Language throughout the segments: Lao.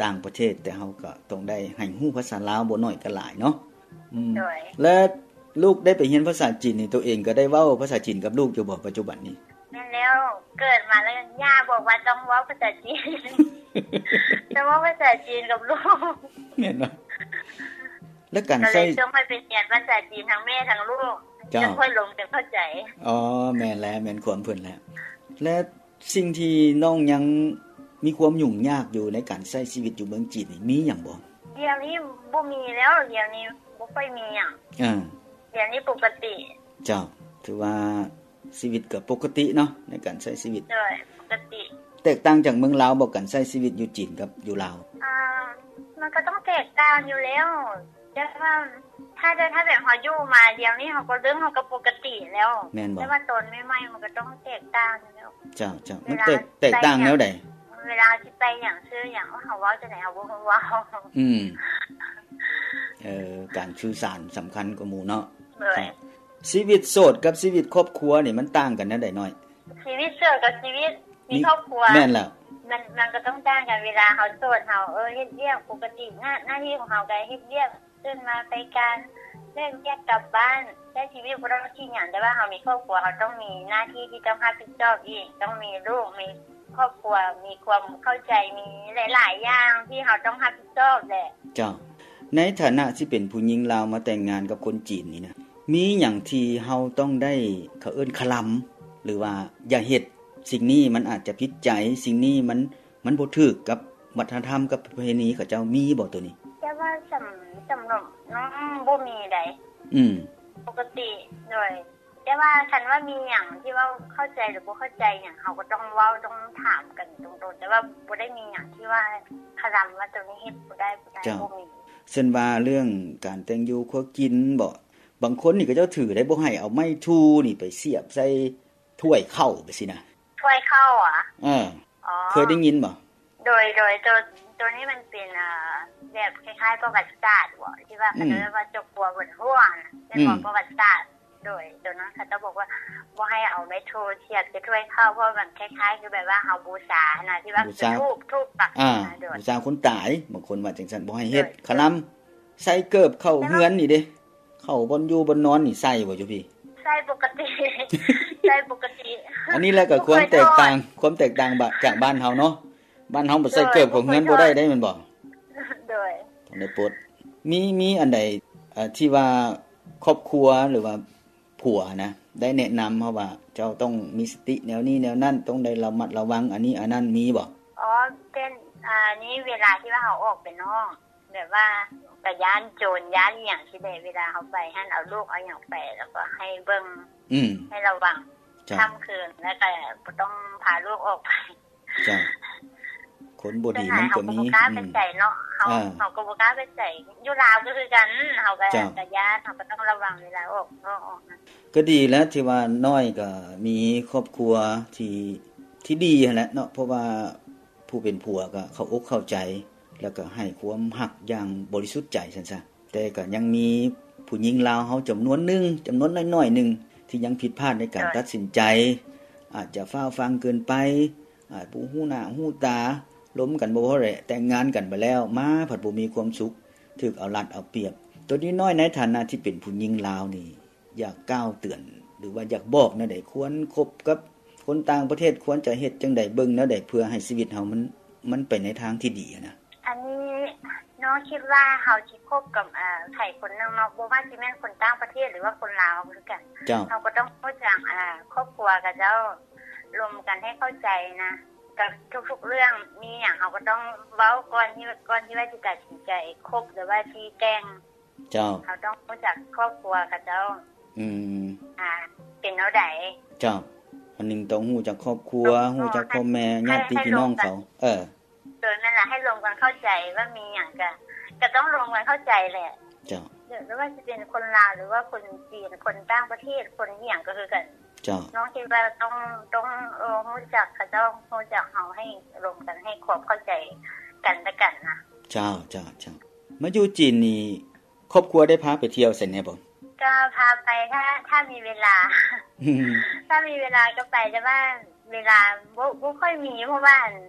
ຕ່າງປະເທດ ແຕ່ເຮົາກໍຕ້ອງໄດ້ໃຫ້ຮູ້ພາສາລາວບໍ່ໜ້ອຍກໍຫຼາຍເນາະ. ອືມ ໂດຍ ແລະ ລູກໄດ້ໄປຮຽນພາສາຈີນນີ້ ໂຕເອງກໍໄດ້ເວົ້າພາສາຈີນກັບລູກຢູ່ບໍ່ປັດຈຸບັນນີ້? ແມ່ນແລ້ວ ເກີດມາແລ້ວ ຍ່າບອກວ່າຕ້ອງເວົ້າພາສາຈີນ ຕ້ອງເວົ້າພາສາຈີນກັບລູກ. ແມ່ນບໍ່? ແລ້ວການໃຊ້ ກໍເລີຍຊ່ວງໃຫ້ໄປຮຽນພາສາຈີນທັງແມ່ທັງລູກ ເຈົ້າ ຈັ່ງຄ່ອຍລົມກັນເຂົ້າໃຈ. ອໍ ແມ່ນແລ້ວ ແມ່ນຄວາມເພິ່ນແລ້ວ. ແລະ ສິ່ງທີ່ນ້ອງຍັງມີຄວາມຫຍຸ້ງຍາກຢູ່ໃນການໃຊ້ຊີວິດຢູ່ເມືອງຈີນນີ້ ມີຫຍັງບໍ່? ດຽວນີ້ບໍ່ມີແລ້ວ ດຽວນີ້ບໍ່ຄ່ອຍມີຫຍັງ. ເອີ ດຽວນີ້ປົກກະຕິ. ເຈົ້າ ຖືວ່າຊີວິດກໍປົກກະຕິເນາະ ໃນການໃຊ້ຊີວິດ. ໂດຍ ປົກກະຕິ. ແຕກຕ່າງຈາກເມືອງລາວບໍ່ ການໃຊ້ຊີວິດຢູ່ຈີນກັບຢູ່ລາວ? ອ່າ ມັນກໍຕ້ອງແຕກຕ່າງຢູ່ແລ້ວ ແຕ່ວ່າຖ້າ ຖ້າແບບເຮົາຢູ່ມາດຽວນີ້ ເຮົາກໍເລີ່ມ ເຮົາກໍປົກກະຕິແລ້ວ. ແມ່ນບໍ່? ແຕ່ວ່າຕອນໃໝ່ໆ ມັນກໍຕ້ອງແຕກຕ່າງຢູ່ແລ້ວ. ເຈົ້າ ເຈົ້າ ມັນແຕກ ແຕກຕ່າງແນວໃດ? ເວລາຊິໄປຫຍັງຊື້ຫຍັງ ເຮົາເວົ້າຈັ່ງໃດ ເຮົາບໍ່ຮູ້ເວົ້າ. ອືມ ເອີ ການສື່ສານສຳຄັນກວ່າໝູ່ເນາະ. ໂດຍ. ຊີວິດໂສດກັບຊີວິດຄອບຄົວນີ້ ມັນຕ່າງກັນແນວໃດນ້ອຍ? ຊີວິດໂສດກັບຊີວິດມີຄອບຄົວ ແມ່ນແລ້ວ ມັນ ມັນກໍຕ້ອງຕ່າງກັນ. ເວລາເຮົາໂສດ ເຮົາ ເອີ ເຮັດວຽກປົກກະຕິ ໜ້າ ໜ້າທີ່ຂອງເຮົາກໍເຮັດວຽກ ຕື່ນມາໄປການ ເລີກວຽກກັບບ້ານ ໃຊ້ຊີວິດບໍ່ຕ້ອງຄິດຫຍັງ. ແຕ່ວ່າເຮົາມີຄອບຄົວ ເຮົາຕ້ອງມີໜ້າທີ່ທີ່ຕ້ອງຮັບຜິດຊອບອີກ ຕ້ອງມີລູກ ມີຄອບຄົວ ມີຄວາມເຂົ້າໃຈ ມີຫຼາຍໆຢ່າງທີ່ເຮົາຕ້ອງຮັບຜິດຊອບແຫຼະ. ເຈົ້າ ໃນຖານະທີ່ເປັນຜູ້ຍິງລາວມາແຕ່ງງານກັບຄົນຈີນນີ້ນະ ມີຫຍັງທີ່ເຮົາຕ້ອງໄດ້ ເຂົາເອີ້ນຄະລຳ ຫຼືວ່າຢ່າເຮັດ ສິ່ງນີ້ມັນອາດຈະຜິດໃຈ ສິ່ງນີ້ມັນ ມັນບໍ່ຖືກກັບວັດທະນະທຳ ກັບປະເພນີເຂົາເຈົ້າ ມີບໍ່ໂຕນີ້? ແຕ່ວ່າສຳ ສຳລັບນ້ອງບໍ່ມີໃດ. ອືມ ປົກກະຕິ. ໂດຍ. ແຕ່ວ່າຄັນວ່າມີຫຍັງທີ່ວ່າເຂົ້າໃຈ ຫຼື ບໍ່ເຂົ້າໃຈຫຍັງ ເຮົາກໍຕ້ອງເວົ້າ ຕ້ອງຖາມກັນຕົງໆ ແຕ່ວ່າບໍ່ໄດ້ມີຫຍັງທີ່ວ່າຄະລຳວ່າໂຕນີ້ເຮັດບໍ່ໄດ້ ບໍ່ໄດ້. ເຈົ້າ ບໍ່ມີ. ເຊັ່ນວ່າເລື່ອງການແຕ່ງຢູ່ຄົວກິນບໍ? ບາງຄົນນີ້ເຂົາເຈົ້າຖືໄດ໋ ບໍ່ໃຫ້ເອົາໄມ້ທູ່ນີ້ໄປສຽບໃສ່ຖ້ວຍເຂົ້າ ຈັ່ງຊີ້ນະ. ຖ້ວຍເຂົ້າຫວາ? ເອີ. ອໍ ເຄີຍໄດ້ຍິນບໍ່? ໂດຍ ໂດຍ ໂຕ ໂຕນີ້ມັນເປັນ ອ່າ ແບບຄ້າຍໆ ປະຫວັດສາດບໍ ທີ່ວ່າ ອືມ ເຂົາເອີ້ນວ່າເຈົ້າຄົວບົນຫົວນະ ແມ່ນບໍ່? ອືມ ປະຫວັດສາດ. ໂດຍ ໂຕນັ້ນເຂົາເຈົ້າບອກວ່າບໍ່ໃຫ້ເອົາໄມ້ທູ່ສຽບໃສ່ຖ້ວຍເຂົ້າ ເພາະວ່າມັນຄ້າຍໆ ຄືແບບວ່າເຮົາບູຊານະ ທີ່ວ່າ ບູຊາ ທູບ ທູບປັກ. ອ່າ ບູຊາຄົນຕາຍ ບາງຄົນວ່າຈັ່ງຊັ້ນ ບໍ່ໃຫ້ເຮັດ. ໂດຍ ຄະລຳ ໃສ່ເກີບເຂົ້າເຮືອນນີ້ເດ້ ເຂົ້າບ່ອນຢູ່ບ່ອນນອນນີ້ໃສ່ບໍ່ຢູ່ພີ້? ໃສ່ປົກກະຕິ ໃສ່ປົກກະຕິ. ອັນນີ້ແຫຼະກໍຄວາມແຕກຕ່າງ ຄວາມແຕກຕ່າງ ຈາກບ້ານເຮົາເນາະ. ບ້ານເຮົາບໍ່ໃສ່ເກີບເຂົ້າເຮືອນບໍ່ໄດ້ເດ້ ແມ່ນບໍ່? ໂດຍ. ຕ້ອງໄດ້ປົດ. ມີ ມີອັນໃດ ເອີ ທີ່ວ່າຄອບຄົວ ຫຼືວ່າຜົວນະ ໄດ້ແນະນຳເຮົາວ່າ ເຈົ້າຕ້ອງມີສະຕິແນວນີ້ແນວນັ້ນ ຕ້ອງໄດ້ລະມັດລະວັງອັນນີ້ອັນນັ້ນ ມີບໍ່? ອໍ ເປັນ ອັນນີ້ເວລາທີ່ວ່າເຮົາອອກໄປນອກ ແບບວ່າກະຢ້ານໂຈນຢ້ານອີ່ຫຍັງຊີ້ແຫຼະ ເວລາເຮົາໄປຫັ້ນ ເອົາລູກເອົາຫຍັງໄປ ແລ້ວກໍໃຫ້ເບິ່ງ ອືມ ໃຫ້ລະວັງ. ເຈົ້າ. ຄ່ຳຄືນ ແລ້ວກໍບໍ່ຕ້ອງພາລູກອອກໄປ. ເຈົ້າ. ຄົນບໍ່ດີມັນກໍມີ. ສ່ວນຫຼາຍເຮົາກໍບໍ່ກ້າໄປໃສເນາະ. ອືມ. ເຮົາ ເອີ ເຮົາກໍບໍ່ກ້າໄປໃສ. ຢູ່ລາວກໍຄືກັນ ເຮົາກໍ ເຈົ້າ ກະຢ້ານ ເຮົາກໍຕ້ອງລະວັງເວລາອອກ ອອກ ອອກນະ. ກໍດີແລ້ວທີ່ວ່ານ້ອຍກໍມີຄອບຄົວທີ່ ທີ່ດີຫັ້ນແຫຼະເນາະ ເພາະວ່າ ຜູ້ເປັນຜົວກໍເຂົ້າອົກເຂົ້າໃຈ ແລ້ວກໍໃຫ້ຄວາມຮັກຢ່າງບໍລິສຸດໃຈຊັ້ນຊະ. ແຕ່ກໍຍັງມີຜູ້ຍິງລາວເຮົາຈຳນວນໜຶ່ງ ຈຳນວນນ້ອຍໆໜຶ່ງ ທີ່ຍັງຜິດພາດໃນການ ໂດຍ ຕັດສິນໃຈ ອາດຈະຟ້າວຟັ່ງເກີນໄປ ອາດບໍ່ຮູ້ໜ້າຮູ້ຕາ ລົມກັນບໍ່ພໍແຫຼະ ແຕ່ງງານກັນໄປແລ້ວ ມາພັດບໍ່ມີຄວາມສຸກ ຖືກເອົາລັດເອົາປຽບ. ໂຕນີ້ນ້ອຍໃນຖານະທີ່ເປັນຜູ້ຍິງລາວນີ້ ຢາກກ່າວເຕືອນ ຫຼືວ່າຢາກບອກແນວໃດ ຄວນຄົບກັບຄົນຕ່າງປະເທດ ຄວນຈະເຮັດຈັ່ງໃດ ເບິ່ງແນວໃດ ເພື່ອໃຫ້ຊີວິດເຮົາມັນ ມັນໄປໃນທາງທີ່ດີຫັ້ນນະ? ອັນນີ້ນ້ອງຄິດວ່າເຮົາຊິຄົບກັບ ເອີ ໃຜຄົນໜຶ່ງເນາະ ບໍ່ວ່າຊິແມ່ນຄົນຕ່າງປະເທດ ຫຼືວ່າຄົນລາວເຮົາຄືກັນ ເຈົ້າ ເຮົາກໍຕ້ອງຮູ້ຈັກ ເອີ ຄອບຄົວເຂົາເຈົ້າ ລົມກັນໃຫ້ເຂົ້າໃຈນະ ກັບທຸກໆເລື່ອງ ມີຫຍັງເຮົາກໍຕ້ອງເວົ້າກ່ອນທີ່ ກ່ອນທີ່ວ່າຊິຕັດສິນໃຈຄົບ ຫຼືວ່າຊິແຕ່ງ. ເຈົ້າ. ເຮົາຕ້ອງຮູ້ຈັກຄອບຄົວເຂົາເຈົ້າ. ອືມ. ອ່າ ເປັນແນວໃດ? ເຈົ້າ. ອັນໜຶ່ງຕ້ອງຮູ້ຈັກຄອບຄົວ, ຮູ້ຈັກພໍ່ແມ່, ຍາດຕິພີ່ນ້ອງເຂົາ. ເອີ. ໂດຍ ນັ້ນລະ ໃຫ້ລົມກັນເຂົ້າໃຈວ່າມີຫຍັງກະ ກະຕ້ອງລົມກັນເຂົ້າໃຈແຫຼະ. ເຈົ້າ. ຫຼືວ່າຊິເປັນຄົນລາວ ຫຼືວ່າຄົນຈີນ, ຄົນຕ່າງປະເທດ, ຄົນອີ່ຫຍັງກະຄືກັນ. ເຈົ້າ. ນ້ອງຄິດວ່າຕ້ອງ ຕ້ອງ ເອີ ຮູ້ຈັກເຂົາເຈົ້າ, ຮູ້ຈັກເຮົາ ໃຫ້ລົມກັນ ໃຫ້ຄວາມເຂົ້າໃຈກັນແລະກັນນະ. ເຈົ້າ, ເຈົ້າ, ເຈົ້າ. ມາຢູ່ຈີນນີ້ ຄອບຄົວໄດ້ພາໄປທ່ຽວໃສແດ່ບໍ່? ກໍພາໄປ ຖ້າ ຖ້າມີເວລາ. ອືມ. ຖ້າມີເວລາກໍໄປ, ແຕ່ວ່າເວລາບໍ່ ບໍ່ຄ່ອຍມີ, ເພາະວ່າ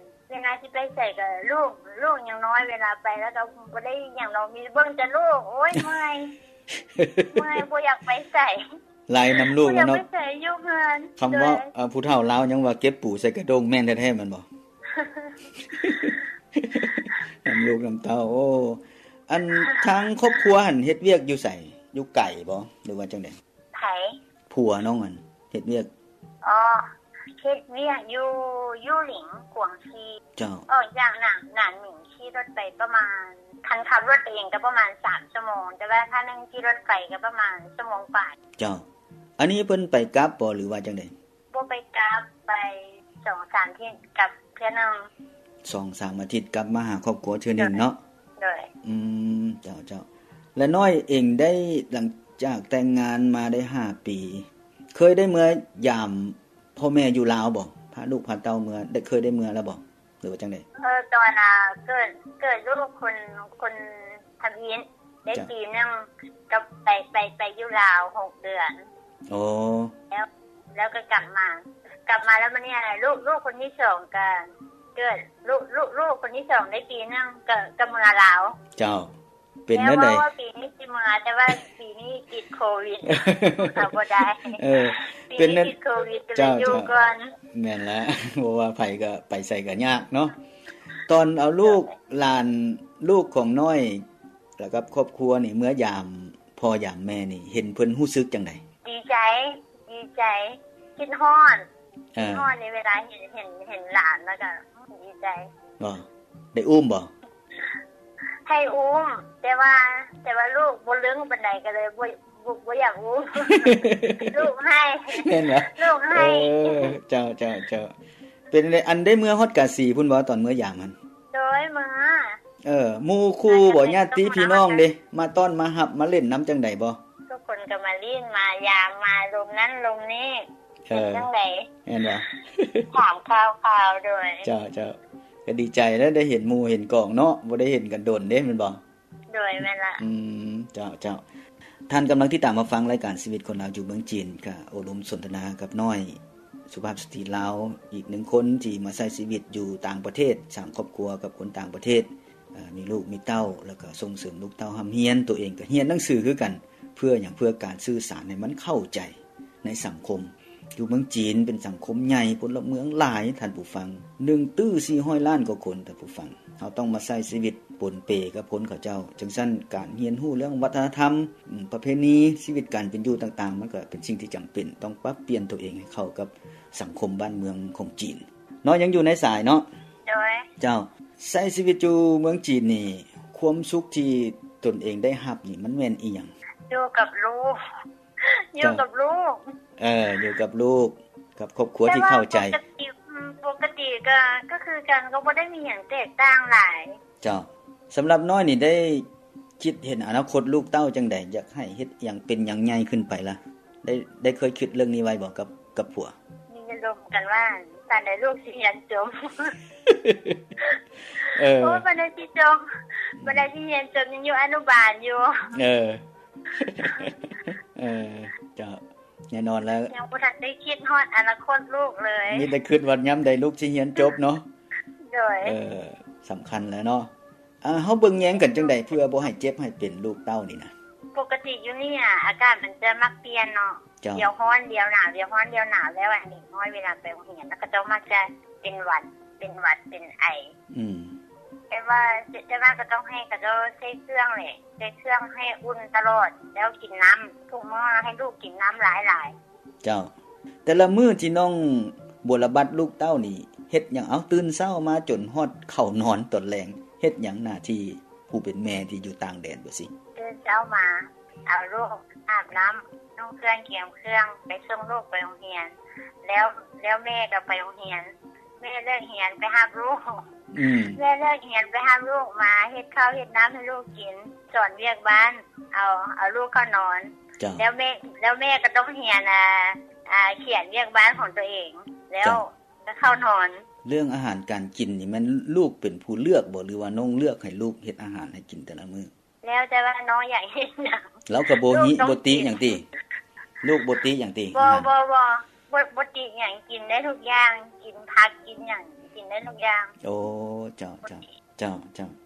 ເວລາຊິໄປໃສກໍລູກ ລູກຍັງນ້ອຍ ເວລາໄປແລ້ວກໍບໍ່ໄດ້ຫຍັງດອກ ມີເບິ່ງແຕ່ລູກ ໂອ້ຍ ເມື່ອຍ ເມື່ອຍ ບໍ່ຢາກໄປໃສ ໄລ່ນຳລູກແລ້ວເນາະ ບໍ່ຢາກໄປໃສ ຢູ່ເຮືອນ. ຄຳເວົ້າ ໂດຍ ເອີ ຜູ້ເຖົ້າລາວຍັງວ່າເກັບປູໃສ່ກະດ້ງ ແມ່ນແທ້ໆ ແມ່ນບໍ່? ນຳລູກນຳເຕົ້າ. ໂອ້ ອັນ ທາງຄອບຄົວຫັ້ນເຮັດວຽກຢູ່ໃສ? ຢູ່ໄກບໍ່ ຫຼືວ່າຈັ່ງໃດ? ໃຜ? ຜົວນ້ອງຫັ້ນເຮັດວຽກ. ອໍ ເຮັດວຽກຢູ່ ຢູ່ຫຼິງ ກວາງຊີ. ເຈົ້າ. ອອກຈາກໜານ ໜານໝິງຂີ່ລົດໄປປະມານ ຄັນຂັບລົດໄປເອງກໍປະມານສາມຊົ່ວໂມງ ແຕ່ວ່າຖ້າແມ່ນຂີ່ລົດໄຟກໍປະມານຊົ່ວໂມງປາຍ. ເຈົ້າ. ອັນນີ້ເພິ່ນໄປກັບບໍ່ ຫຼືວ່າຈັ່ງໃດ? ບໍ່ໄປກັບ ໄປສອງສາມອາທິດກັບເທື່ອໜຶ່ງ. ສອງສາມອາທິດກັບມາຫາຄອບຄົວເທື່ອໜຶ່ງເນາະ. ໂດຍ. ອືມ ເຈົ້າ ເຈົ້າ. ແລະ ນ້ອຍເອງໄດ້ ຫຼັງຈາກແຕ່ງງານມາໄດ້ຫ້າປີ ເຄີຍໄດ້ເມືອຢາມພໍ່ແມ່ຢູ່ລາວບໍ່? ພາລູກພາເຕົ້າເມືອ ໄດ້ ເຄີຍໄດ້ເມືອແລ້ວບໍ່ ຫຼືວ່າຈັ່ງໃດ? ເອີ ຕອນ ອ່າ ເກີດ ເກີດລູກຄົນ ຄົນທຳອິດ ໄດ້ ເຈົ້າ ປີໜຶ່ງ ກໍໄປ ໄປ ໄປຢູ່ລາວຫົກເດືອນ. ໂອ້ ແລ້ວ ແລ້ວກໍກັບມາ ກັບມາແລ້ວມານີ້ ລູກ ລູກຄົນທີສອງກໍເກີດ ລູກ ລູກ ລູກຄົນທີສອງໄດ້ປີໜຶ່ງ ກໍ ກໍເມືອລາວ. ເຈົ້າ. ເປັນແນວໃດ? ເວົ້າວ່າປີນີ້ຊິເມືອ ແຕ່ວ່າປີນີ້ຕິດໂຄວິດ ເອົາບໍ່ໄດ້. ເອີ ປີນີ້ຕິດໂຄວິດ ກໍເລີຍຢູ່ກ່ອນ. ເຈົ້າ ເຈົ້າ. ແມ່ນລະ ບໍ່ວ່າໃຜກໍໄປໃສກໍຍາກເນາະ. ຕອນເອົາລູກ ໂດຍ ຫຼານ ລູກຂອງນ້ອຍ ແລ້ວກັບຄອບຄົວນີ້ ເມືອຢາມພໍ່ຢາມແມ່ນີ້ ເຫັນເພິ່ນຮູ້ສຶກຈັ່ງໃດ? ດີໃຈ ດີໃຈ ຄິດຮອດ. ເອີ ຄິດຮອດໃນເວລາເຫັນ ເຫັນ ເຫັນຫຼານ ແລ້ວກໍດີໃຈ. ບໍ່ ໄດ້ອຸ້ມບໍ່? ໃຫ້ອຸ້ມ ແຕ່ວ່າ ແຕ່ວ່າລູກບໍ່ລຶ້ງປານໃດ ກໍເລີຍບໍ່ ບໍ່ ບໍ່ຢາກອຸ້ມ. ລູກໄຫ້. ແມ່ນບໍ່? ລູກໄຫ້. ເອີ ເຈົ້າ ເຈົ້າ ເຈົ້າ. ເປັນ ອັນ ໄດ້ເມືອຮອດກາສີພຸ້ນບໍ່ ຕອນເມືອຢາມຫັ້ນ? ໂດຍ ເມືອ. ເອີ ໝູ່ຄູ່ບໍ່ ຍາດຕິພີ່ນ້ອງເດ ມາຕ້ອນມາຮັບມາຫຼິ້ນນຳຈັ່ງໃດບໍ່? ທຸກຄົນກໍມາຫຼິ້ນມາຢາມ ມາລົມນັ້ນລົມນີ້. ເອີ ເປັນຈັ່ງໃດ? ແມ່ນບໍ່? ຖາມຂ່າວໆ. ໂດຍ. ເຈົ້າ ເຈົ້າ. ກໍດີໃຈແລ້ວ ໄດ້ເຫັນໝູ່ເຫັນກອງເນາະ ບໍ່ໄດ້ເຫັນກັນດົນເດ້ ແມ່ນບໍ່? ໂດຍ ແມ່ນລະ. ອືມ ເຈົ້າ ເຈົ້າ. ທ່ານກຳລັງຕິດຕາມຮັບຟັງລາຍການຊີວິດຄົນລາວຢູ່ເມືອງຈີນ ກະໂອ້ລົມສົນທະນາກັບນ້ອຍ ສຸພາບສະຕີລາວ ອີກໜຶ່ງຄົນທີ່ມາໃຊ້ຊີວິດຢູ່ຕ່າງປະເທດ ສ້າງຄອບຄົວກັບຄົນຕ່າງປະເທດ ເອີ ມີລູກມີເຕົ້າ ແລ້ວກໍສົ່ງເສີມລູກເຕົ້າຮ່ຳຮຽນ ຕົວເອງກໍຮຽນໜັງສືຄືກັນ. ເພື່ອຫຍັງ? ເພື່ອການສື່ສານໃຫ້ມັນເຂົ້າໃຈໃນສັງຄົມ. ຢູ່ເມືອງຈີນເປັນສັງຄົມໃຫຍ່ ພົນລະເມືອງຫຼາຍ ທ່ານຜູ້ຟັງ ໜຶ່ງຕື້ສີ່ຮ້ອຍລ້ານກວ່າຄົນ ທ່ານຜູ້ຟັງ. ເຮົາຕ້ອງມາໃຊ້ຊີວິດປົນເປກັບຄົນເຂົາເຈົ້າ. ຈັ່ງຊັ້ນ ການຮຽນຮູ້ເລື່ອງວັດທະນະທຳ ອາ ປະເພນີ ຊີວິດການເປັນຢູ່ຕ່າງໆ ມັນກໍເປັນສິ່ງທີ່ຈຳເປັນ ຕ້ອງປັບປ່ຽນຕົວເອງໃຫ້ເຂົ້າກັບສັງຄົມບ້ານເມືອງຂອງຈີນ. ເນາະ ຍັງຢູ່ໃນສາຍເນາະ? ໂດຍ. ເຈົ້າ. ໃຊ້ຊີວິດຢູ່ເມືອງຈີນນີ້ ຄວາມສຸກທີ່ຕົນເອງໄດ້ຮັບນີ້ ມັນແມ່ນອີ່ຫຍັງ? ຢູ່ກັບລູກ. ຢູ່ກັບລູກ. ເອີ ຢູ່ກັບລູກ ກັບຄອບຄົວທີ່ເຂົ້າໃຈ. ແຕ່ວ່າປົກກະຕິ ອືມ ປົກກະຕິກໍ ກໍຄືກັນ ກໍບໍ່ໄດ້ມີຫຍັງແຕກຕ່າງຫຼາຍ. ເຈົ້າ. ສຳລັບນ້ອຍນີ້ ໄດ້ຄິດເຫັນອະນາຄົດລູກເຕົ້າຈັ່ງໃດ? ຢາກໃຫ້ເຮັດຫຍັງ ເປັນຫຍັງໃຫຍ່ຂຶ້ນໄປລະ? ໄດ້ ໄດ້ເຄີຍຄິດເລື່ອງນີ້ໄວ້ບໍ່ ກັບ ກັບຜົວ? ມີອາລົມກັນວ່າ ປານໃດລູກຊິຮຽນຈົບ. ເອີ ໂອ້ ປານໃດຊິຈົບ ປານໃດຊິຮຽນຈົບ ຍັງຢູ່ອະນຸບານຢູ່. ເອີ ເອີ ເຈົ້າ. ແນ່ນອນແລ້ວ ຍັງບໍ່ທັນໄດ້ຄິດຮອດອະນາຄົດລູກເລີຍ. ມີແຕ່ຄິດວ່າຍາມໃດລູກຊິຮຽນຈົບເນາະ. ໂດຍ. ເອີ ສຳຄັນແລ້ວເນາະ. ອ່າ ເຮົາເບິ່ງແຍງກັນຈັ່ງໃດ ເພື່ອບໍ່ໃຫ້ເຈັບໃຫ້ເປັນລູກເຕົ້ານີ້ນະ? ປົກກະຕິຢູ່ນີ້ອະ ອາກາດມັນຈະມັກປ່ຽນເນາະ. ເຈົ້າ. ດຽວຮ້ອນດຽວໜາວ ດຽວຮ້ອນດຽວໜາວ ແລ້ວອັນເດັກນ້ອຍເວລາໄປໂຮງຮຽນ ແລ້ວເຂົາເຈົ້າມັກຈະເປັນຫວັດ ເປັນຫວັດ ເປັນໄອ. ອືມ. ແຕ່ວ່າ ແຕ່ວ່າກໍຕ້ອງໃຫ້ເຂົາເຈົ້າໃສ່ເຄື່ອງແຫຼະ ໃສ່ເຄື່ອງໃຫ້ອຸ່ນຕະຫຼອດ ແລ້ວກິນນ້ຳ ທຸກມື້ໃຫ້ລູກກິນນ້ຳຫຼາຍໆ. ເຈົ້າ. ແຕ່ລະມື້ທີ່ນ້ອງບົວລະບັດລູກເຕົ້ານີ້ເຮັດຫຍັງ? ເອົາ ຕື່ນເຊົ້າມາຈົນຮອດເຂົ້ານອນຕອນແລງ ເຮັດຫຍັງ? ໜ້າທີ່ຜູ້ເປັນແມ່ທີ່ຢູ່ຕ່າງແດນ ບໍ່ຊິ. ຕື່ນເຊົ້າມາ ເອົາລູກອາບນ້ຳ ນຸ່ງເຄື່ອງກຽມເຄື່ອງ ໄປສົ່ງລູກໄປໂຮງຮຽນ ແລ້ວ ແລ້ວແມ່ກໍໄປໂຮງຮຽນ ແມ່ເລີກຮຽນໄປຮັບລູກ. ອືມ. ແມ່ເລີກຮຽນໄປຮັບລູກມາ ເຮັດເຂົ້າເຮັດນ້ຳໃຫ້ລູກກິນ ສອນວຽກບ້ານ ເອົາ ເອົາລູກເຂົ້ານອນ. ເຈົ້າ. ແລ້ວແມ່ ແລ້ວແມ່ກໍຕ້ອງຮຽນ ອ່າ ອ່າ ຂຽນວຽກບ້ານຂອງຕົວເອງ ແລ້ວ ເຈົ້າ ກໍເຂົ້ານອນ. ເລື່ອງອາຫານການກິນນີ້ ແມ່ນລູກເປັນຜູ້ເລືອກບໍ່ ຫຼືວ່ານ້ອງເລືອກໃຫ້ລູກເຮັດອາຫານໃຫ້ກິນແຕ່ລະມື້? ແລ້ວແຕ່ວ່ານ້ອງຢາກເຮັດຫຍັງ. ລາວກໍບໍ່ ບໍ່ຕິຫຍັງຕິ? ລູກບໍ່ຕິຫຍັງຕິ? ບໍ່ ອາຫານ ບໍ່ ບໍ່ ບໍ່ຕິຫຍັງ ກິນໄດ້ທຸກຢ່າງ ກິນຜັກກິນຫຍັງ. ກິນໄດ້ທຸກຢ່າງ. ໂອ້ ເຈົ້າ ເຈົ້າ ເຈົ້າ ເຈົ້າ.